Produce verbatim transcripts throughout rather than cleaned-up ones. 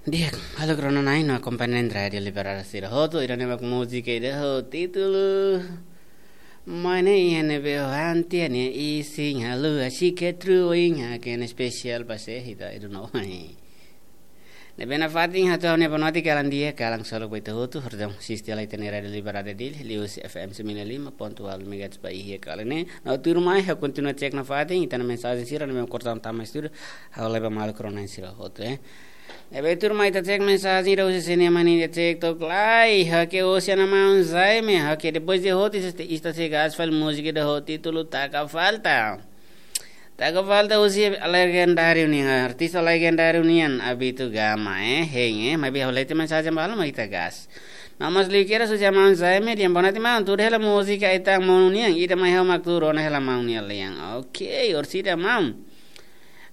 Di'ak, halo krono nai no akompaña iha Rádiu Liberdade sira hotu, ida-ne'e mak múzika ida ho títulu Mai ne'e iha ne'ebé ho antia nia isin haluha, si ke tru oin haken espesiál ba sé ita, I don't know. Ne'ebé nafatin hato'o ha'u-nia boa noite kalan di'ak, kalan solok ba ita hotu, hordom, asiste lai ita-nia Rádiu Liberdade Dili, liuhusi F M sembilan lima ponto delapan megahertz ba iha kalan ne'e. No tuirmai, ha'u kontinua cek nafatin, ita-nia mensajen sira, ne'ebé kortan tama estúdiu, ha'u leba malu krono nai sira hotu, eh. Ne'ebé tuirmai ita cek mensajen ida husi sira-nia maun ida cek tok lai. Oke, husi ana maun Jaime. Oke, depois de hotu ita, ita sei gas fali múzika ida ho títulu Taka Falta. Taka Falta husi legendáriu nian, artista legendáriu nian, Abito Gama, eh, hein, eh, maibé ha'u lete mensajen balu mak ita gas. Namas liu kira husi ana maun Jaime, dehan boa noite maun, tuur hela múzika Aitán Monu nian, ida mai ha'u mak tuur ona hela maun nia lian. Oke, orsida maun.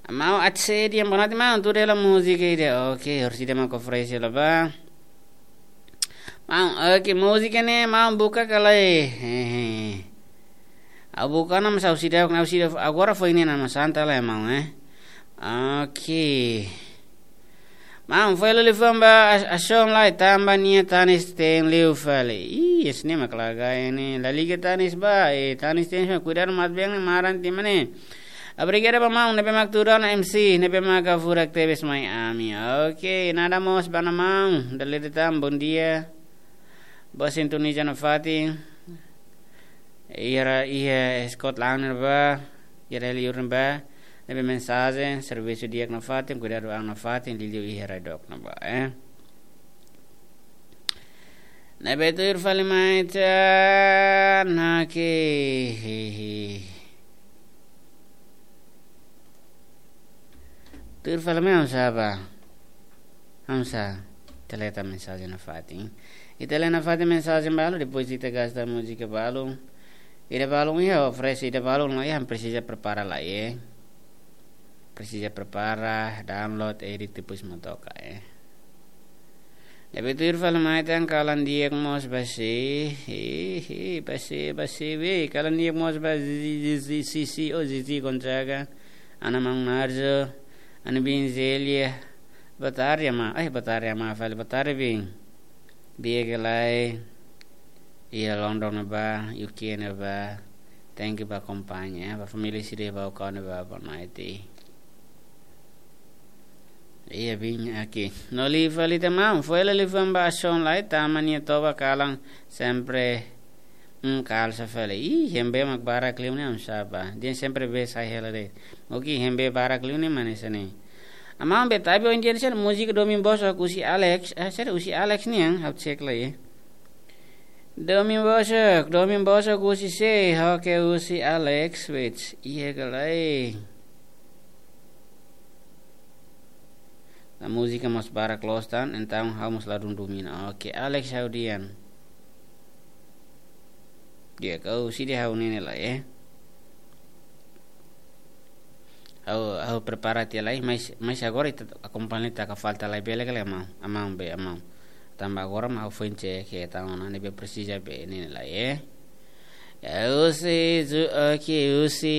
Maun Atse dehan boa noite maun, tuur hela múzika ida. Oke, orsida mak oferese hela ba. Maun, oke, múzika ne'e maun buka ka lae. Hehe. Ha'u buka ona mas ha'u seidauk, ha'u seidauk, agora foin ne'e na mas santa lai maun, eh. Oke. Maun, foin liafuan ba as-, asaun lai tanba nia tanis te'in liu fali. Ih, esse ne'e mak lagai ne'e. La liga tanis ba, eh, tanis te'in, kuidadu matebian ne'e maran tiha mak ne'e. Obrigadu ba maun ne'ebé mak tuur ona, M C ne'ebé maka furak tebes mai ami. Oke, nada mós ba ana maun, dala ida tan, bom dia. Boa sintonia nafatin. Iha, iha Scotland ne'ebá, iha liur ne'ebá, ne'ebé mensajen, servisu di'ak nafatin, kuidadu an nafatin, liuliu iha rai dook ne'ebá, eh. Ne'ebé tuir fali mai ita, nake, hehe. Tuir fali mai oinsá ba. Oinsá, ita lee tan mensajen nafatin. Ita lee nafatin mensajen balu, depois ita gas tan múzika balu. Ida balu iha, oferese ida balu, no iha, presiza prepara lai, eh. Presiza prepara, download, edit, depois mak toka, eh. Ne'ebé tuir fali mai tan kalan di'ak mós ba sé, hi, hi, ba sé, ba sé, be, kalan di'ak mós ba Zizi, Zizi, Sisi, o Zizi Gonzaga, ana maun Narzo, ana biin Zélia, boa tarde, amá, ai, boa tarde, amá, fali, boa tarde, biin. Di'ak ka lae, iha London ne'ebá, U K ne'ebá, thank you ba akompaña, ba família sira ba o kau ne'ebá, boa noite. Iha biin, oke. No liu fali tan maun, foin liafuan ba asaun lai, tanba nia toba kalan sempre, mm, kalsa fali. Ih, hembe mak barak liu ne'e oinsá ba. Dehan sempre bee sai hela de'it. Oke, hembe barak liu ne'e mak hanesan ne'e. Amá, be tapi oin dia sen múzika Domin Bosok husi Alex, eh, sériu husi Alex nian, ha'u cek lai, eh. Domin Bosok, Domin Bosok husi sé, oke husi Alex, wait. Iha ka lae. Na múzika mós barak loos tan, entaun ha'u mós ladún domina. Oke, Alex ha'u dehan. Di'ak, ha'u sei dehan ha'u ne'e ne'e lai, eh. Ha'u, ha'u prepara tiha lai, mas, mas agora ita akompaña Taka Falta lai bele ka lae, amá, amá be, amá. Tanba agora mak ha'u foin cek ke tan ona ne'ebé presiza be ne'e ne'e lai, eh. Ya, husi Ju-, oke, husi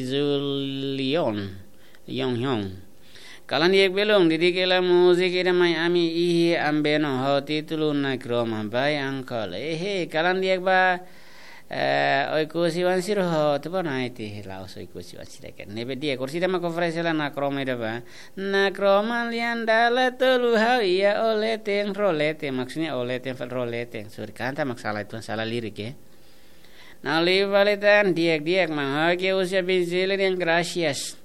Julion. Yon Hyun. Kalan di'ak belun, didik hela múzika ida mai ami iha Ambeno ho títulu Nakroma, by Uncle. Ehe, kalan di'ak ba, eh, Oekusi wan sira hotu, boa noite, la'ós Oekusi wan sira kan. Ne'ebé di'ak, orsida mak oferese hela Nakroma ida ba. Nakroma lian dala tolu ha'u iha o leten, ro leten, maksudnya o leten, fali ro leten. Sorry, kanta mak sala, itu sala lirik, eh. No liu fali tan, di'ak, di'ak, maun. Oke, husi biin Zélia dehan gracias.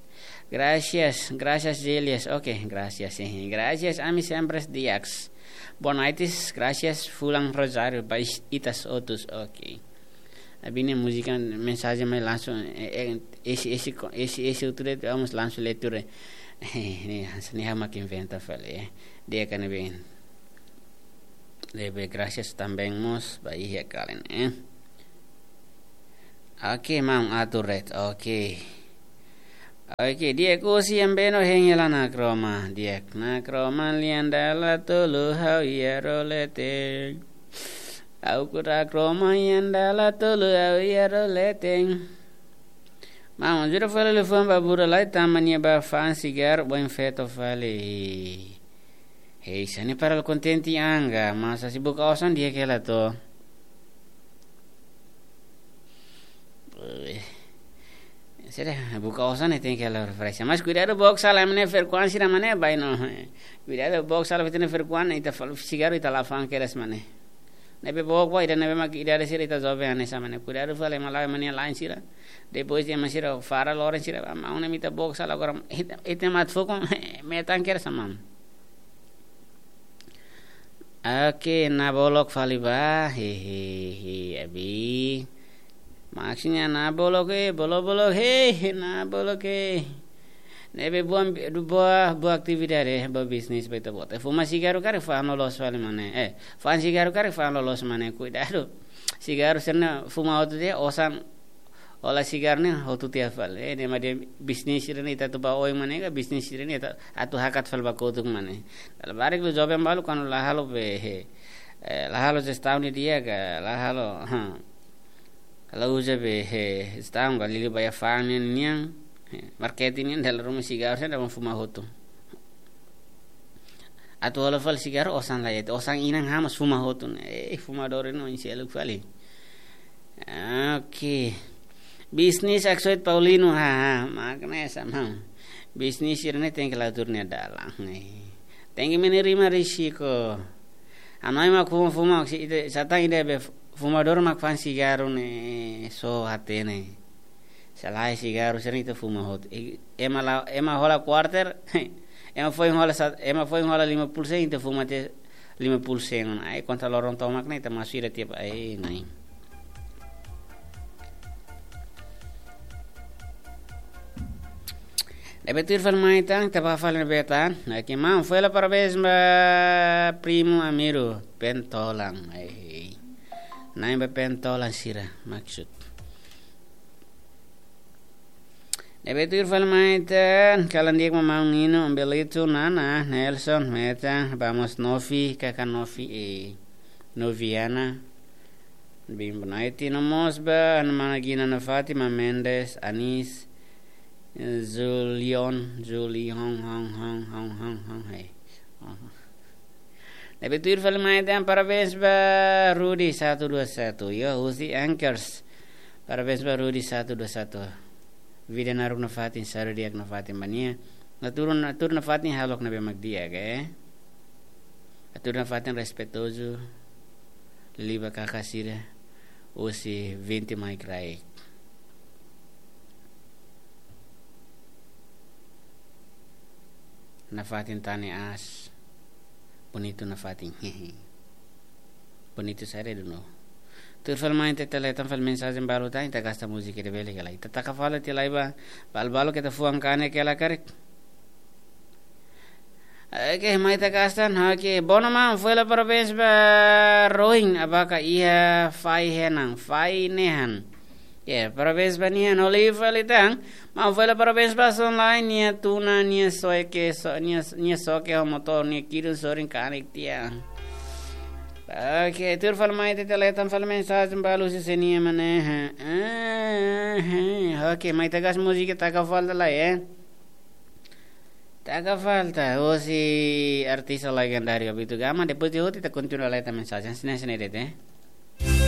Gracias, gracias Zélia. Oke, gracias, eh. Gracias, ami sempre di'ak. Boa noite, gracias, fulan rozáriu ba is-, itas otus, oke. Abine múzika, mensajen mai langsung, eh, eh, esse, esse, esse, esse outro, vamos langsung leitura. Eh, ne'e, ne'e ha'u mak inventa fali, eh. Di'ak ka ne'ebé. Ne'ebé gracias também mós ba iha kalan, eh. Oke, maun, atur ret. Oke. Oke, di'ak, husi Ambeno hein hela Nakroma. Di'ak, Nakroma lian dala tolu ha'u iha ro leten. Ha'u ku Nakroma lian dala tolu ha'u iha ro leten. Maun, ajuda fali liafuan ba buat lain, tanba nia bá fa'an sigarru, bom feto fali. Hei, sani para kontente anga, mas se buka osan di'ak hela to. Eh, sira buka osan ne'e tenke halo refresha. Mas kuidadu book sala ema nia frekuénsia ida mane, bá no. Kuidadu book sala ita-nia frekuénsia, ita fa'an sigarru ita la fa'an kedas mane. Ne'ebé book ba ida ne'ebé mak idade sira ita joven hanesan mane. Kuidadu fali ema la ema nia lain sira. Depois ema sira fara loron sira. Maun ne'e mak ita book sala agora ita, ita mak foku metan kedas maun. Oke, Nabolok fali bá, hehehe, abi. Maksudnya Nabolok, eh, bolok-bolok, he, he, Nabolok, eh. Ne'ebé buat, buat, buat atividade, buat bisnis, buat ita-boot. Eh, fuma sigarru karik fa'an loloos fali mane. Eh, fa'an sigarru karik fa'an loloos mane, kuidadu. Sigarru sira-ne'e fuma hotu tiha, osan hola sigarru ne'e hotu tiha fali. Eh, ne'e mak dehan bisnis sira-ne'e ita atu bá oin mane ka bisnis sira-ne'e ita atu hakat fali ba kotuk mane. Dala barak liu joven balu kuandu la halo be, he, eh, la halo jestaun di'ak ka, la halo, ha. La uza be, he, jestaun ka liuliu ba iha fa'an nian, nian, he, marketing nian dala ruma sigarru sira-ne'e mak fuma hotu. Atu hola fali sigarru osan la iha, osan inan hamas fuma hotu ne'e. Eh, fumadór ne'e oin seluk fali. Oke. Bisnis aksoit Paulino, ha, ha, mak ne'e sama. Bisnis sira-ne'e tenke la tuur nia dalan, eh. Tenke menerima risiko. Hanoin mak fuma, fuma, se ita, satán ida be fumadór mak fa'an sigarru ne'e, só hatene. Se lae sigarru sira-ne'e ita fuma hotu. E, ema la, ema hola kuarter, ema foin hola sa, ema foin hola lima puluh sen, ita fuma tiha lima puluh sen. Ai, konta loron tomak ne'e, ita masu ida tiap, ai, nai. Ne'ebé tuir fali mai tan, ita bá fali ne'ebé tan. Oke, maun, foin hela parabéns ba primu Amiru, Pentolan. Ai. Na'in ba Pentolan sira, maksud. Ne'ebé tuir fali mai tan, kalan di'ak maun Nino, Belito, Nana, Nelson, Meta, Vamos Novi, Kaka Novi, e Noviana, Bimbo Naiti, no mós ba, Ana Mana Gina, Ana Fátima, Mendes, Anis, Julion, Juli, Hong, Hong, Hong, Hong, Hong, Hong, hey. Ne'ebé tuir fali mai tan, parabéns ba Rudi satu dua satu. Yo, husi Anchors. Parabéns ba Rudi satu dua satu. Vida naruk nafatin, saru di'ak nafatin ba nia. Natura, natura nafatin halo ne'ebé mak di'ak, eh. Natura nafatin respeitozu. Liba kaka sira. Husi vinte mai kraik. Nafatin tane aas. Bonitu nafatin. Bonitu sare dunu. Tuir fali mai ita, ita hetan fali mensajen balu tan, ita gasta múzika ida bele kela. Ita taka fali tiha lai ba, balu-balu ita fuan kanek kela karik. Oke, mai ita gasta, oke. Bono maun, foin hela parabéns ba Roin, abaka iha Fai Henan, Fai Nehan. Ya, parabéns ba nia, no liu fali tan. Maun, foin hela parabéns ba Son Lai, nia tuna, nia soke, so, nia, nia soke ho motór, nia kidun sorin kanek tiha. Oke, tuir fali mai ita, ita hetan fali mensajen balu husi sé nia mane. Eh, eh, eh. Oke, mai ita gasta múzika, taka fali tiha lai, eh. Taka fali tiha, husi artista legendáriu Abito Gama, depois de hotu ita kontinua hetan mensajen, sine, sine, dete.